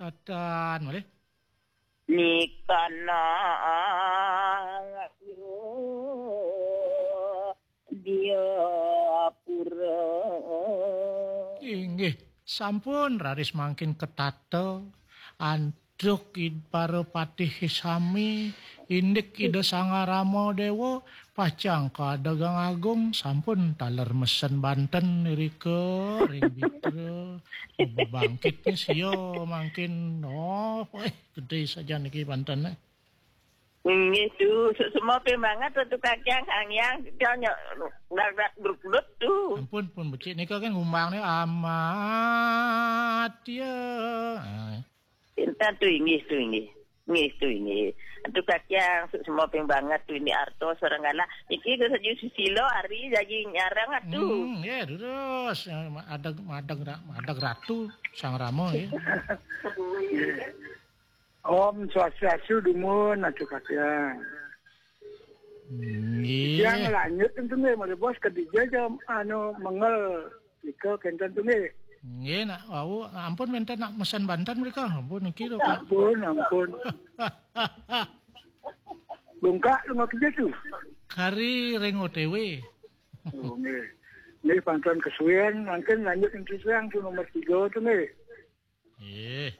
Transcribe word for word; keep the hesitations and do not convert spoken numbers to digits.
Katan malih. Mikana ayu dia pura. Inggih, sampun raris mangkin ketata. Antuk id para patih sami, indik Ida Sang Rama Dewa, pacang kadagang agung, sampun taler mesen banten irika ring bitra. Bebangkitnya sia mangkin, oh, eh, gede saja niki banten, eh. Inggih tu, suksma ping banget Ratu Kakang, Sang Hyang, kita nyo, dak, dak, bruk, bruk tu. Ampun, pun becik nika kan ngumbangne amat ya. Ah. Pinten tu inggih, tu inggih. Inggih, tu inggih. Ratu Kakang, suksma ping banget tu ini arto sareng galah. Iki ke saju susila ari jaji nyarang atu. Hmm, ya terus. Adag, madag, ra- madag ratu Sang Rama ya. Om Swastiastu dumun, Ratu Kakang. Nggih. Yang lanjut tentu nggih, mari bos kedija jam anu mengel nika kenten tu nggih. Nggih, nak wau ampun menten nak mesen banten mereka. Ampun niki lho, Pak. Ampun, ampun. Bungkak lu mau kerja tu. Kari ring O T W. Oh, nggih. Nggih, pantun kesuwen, mungkin lanjut yang kesuwen tu nomor tiga tu nggih. Nggih.